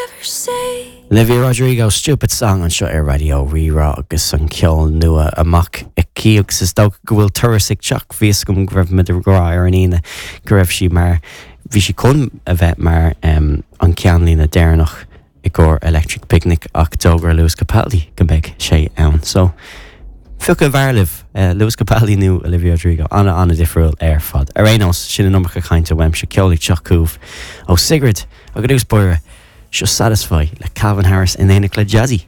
ever say. Olivia Rodrigo, Stupid Song anseo ar Raidió Rí-Rá agus an ceol nua amach aici agus is dócha go bhfuil turas ag teacht. Bhí fhios agam go raibh muid ag rá ar an Aoine go raibh sí mar, bhí sí chun a bheith mar an ceannlíne deireanach i gcomhair Electric Picnic ach d'fhógair Lewis Capaldi go mbeidh sé ann. So, cé acu ab fhearr libh, Lewis Capaldi nó Olivia Rodrigo? Ana, ana-difriúil ar fad. Ar aon nós, sin an iomarca cainte uaimse, ceol ag teacht chugaibh ó Sigrid agus i dtús báire, seo Satisfy le Calvin Harris in éineacht le Jazzy.